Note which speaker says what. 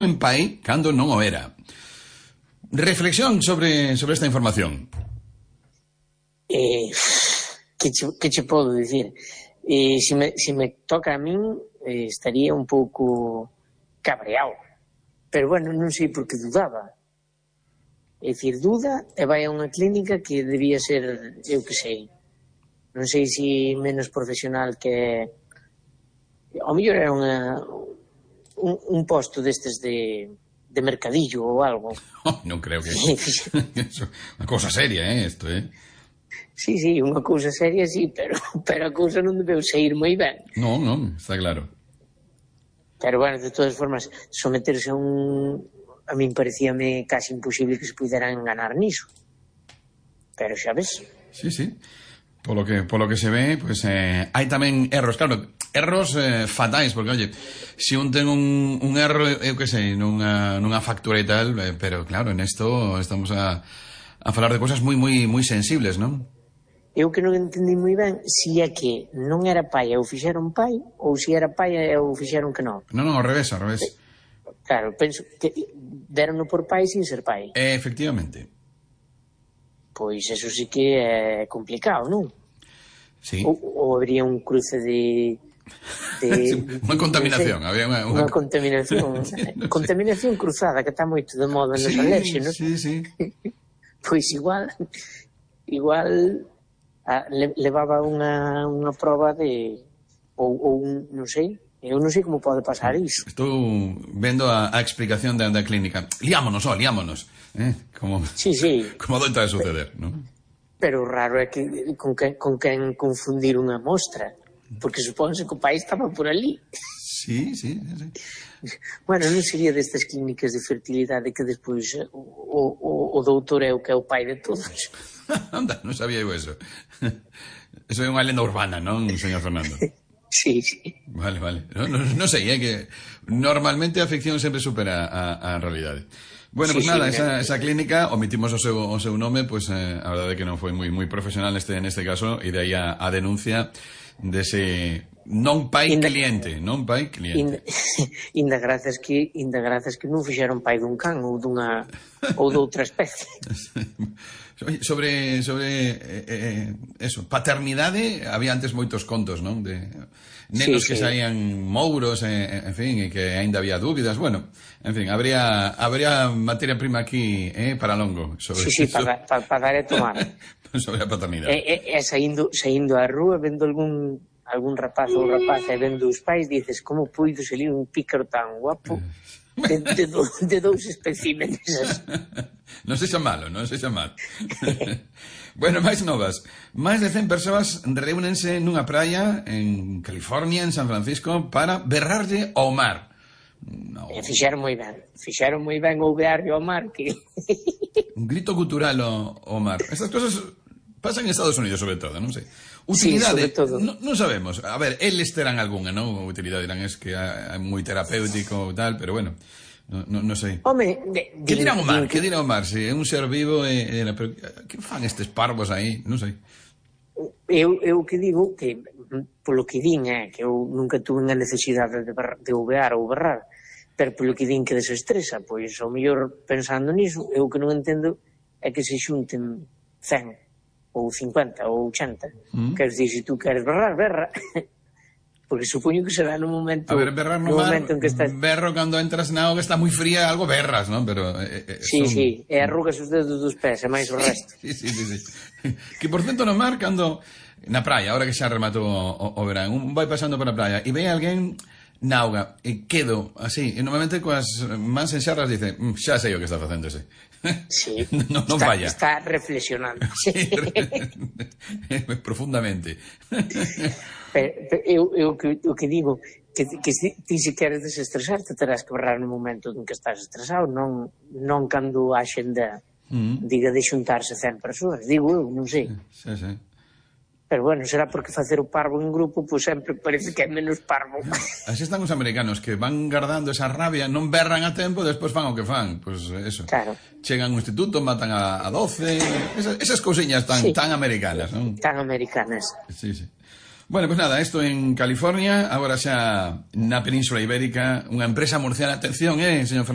Speaker 1: en pai cando non o era. Reflexión sobre esta información.
Speaker 2: Que che podo dicir? Se me toca a min, estaría un pouco cabreado. Pero bueno, non sei por que dudaba. É dicir, duda e vai a unha clínica que debía ser, eu que sei, non sei se menos profesional que... Ao mellor era un posto destes de mercadillo ou algo.
Speaker 1: Non creo que... Unha cousa seria, isto,
Speaker 2: Sí, unha cousa seria, sí, pero a cousa non debeu sair moi ben.
Speaker 1: Non, está claro.
Speaker 2: Pero, bueno, de todas formas, someterse a a min parecíame casi imposible que se puderan enganar niso. Pero xa ves.
Speaker 1: Sí. Polo que se ve, pues hai tamén erros, claro, erros fatais, porque, oye, se un ten un erro, eu que sei, nunha factura e tal, pero claro, en esto estamos a falar de cosas moi sensibles, non?
Speaker 2: Eu que non entendi moi ben se é que non era pai e o fixeron pai, ou se era pai e o fixeron que non.
Speaker 1: Non, ao revés.
Speaker 2: Claro, penso que deronno por pai sin ser pai.
Speaker 1: Efectivamente.
Speaker 2: Pois eso sí que é complicado, non?
Speaker 1: Sí.
Speaker 2: Ou habría un cruce de
Speaker 1: unha contaminación, había
Speaker 2: unha contaminación. Contaminación cruzada, que está moito de moda nos alérxenos.
Speaker 1: Sí.
Speaker 2: Pois igual levaba unha proba de ou non sei. Eu non sei como pode pasar iso.
Speaker 1: Estou vendo a explicación da clínica. Liámonos. Como doita de suceder, non?
Speaker 2: Pero o raro é que con quen confundir unha mostra, porque supónse que o pai estaba por ali.
Speaker 1: Sí.
Speaker 2: Bueno, non sería destas clínicas de fertilidade que despois o doutor é o que é o pai de todos.
Speaker 1: Anda, non sabía eu eso. Eso é unha lenda urbana, non, señor Fernando?
Speaker 2: Sí.
Speaker 1: Vale. Non sei, que normalmente a ficción sempre supera a realidade. Bueno, pues nada, esa clínica, omitimos o seu nome, pues a verdade é que non foi moi profesional neste caso, e de aí a denuncia dese non pai cliente.
Speaker 2: Inda grazas que non fixeron pai dun can ou doutra especie.
Speaker 1: Sobre eso, paternidade, había antes moitos contos, non? De nenos que saían mouros, en fin, e que aínda había dúbidas. Bueno, en fin, habría materia prima aquí, para longo.
Speaker 2: Sí, para dar e tomar.
Speaker 1: Sobre a paternidade.
Speaker 2: E saindo á rúa, vendo algún rapaz ou rapaza e vendo os pais, dices, como puido salir un pícaro tan guapo de dous especímenes.
Speaker 1: Non sexa malo. Bueno, máis novas. Máis de 100 persoas reúnense nunha praia en California, en San Francisco, para berrarlle ao mar.
Speaker 2: E fixeron moi ben o berrarlle ao mar, que...
Speaker 1: Un grito cultural ao mar. Estas cosas pasan en Estados Unidos, sobre todo, non sei. Utilidade, non sabemos. A ver, eles terán algunha, non? Utilidade dirán es que é moi terapéutico e tal, pero bueno, non sei.
Speaker 2: Home,
Speaker 1: que dirán o mar? Se é un ser vivo, pero que fan estes parvos aí? Non sei.
Speaker 2: Eu que digo que, polo que din, que eu nunca tuve a necesidade de uvear ou berrar, pero polo que din que desestresa, pois ao mellor pensando niso, eu que non entendo é que se xunten 100 ou 50 ou 80. Queres dicir, se tú queres berrar, berra. Porque supoño que será no momento...
Speaker 1: A ver, berrar no mar,
Speaker 2: en que estás...
Speaker 1: berro cando entras na auga, está moi fría, algo berras, non? Pero...
Speaker 2: Sí, e arrugas os dedos dos pés, e máis o resto.
Speaker 1: Sí. Que, por cento, no mar, cando... Na praia, ahora que xa rematou o verán, un vai pasando por a praia e ve alguén na auga, e quedo así, e normalmente coas mans en xarras dice, xa sei o que está facendo ese.
Speaker 2: Sí,
Speaker 1: non falla.
Speaker 2: Está reflexionando.
Speaker 1: Sí, profundamente.
Speaker 2: Pero eu que digo, que ti se queres desestresarte terás que berrar no momento en que estás estresado, non cando a xenda diga de xuntarse 100 persoas, digo eu, non sei.
Speaker 1: Sí.
Speaker 2: Pero bueno, será porque facer o parvo en grupo pois sempre parece que é menos parvo.
Speaker 1: Así están os americanos, que van guardando esa rabia, non berran a tempo, despois fan o que fan. Pois eso.
Speaker 2: Claro.
Speaker 1: Chegan ao instituto, matan a 12, esas cousiñas tan americanas, non?
Speaker 2: Tan americanas.
Speaker 1: Sí. Bueno, pues nada, esto en California, agora xa na Península Ibérica, unha empresa murciana, atención, señor Fernando.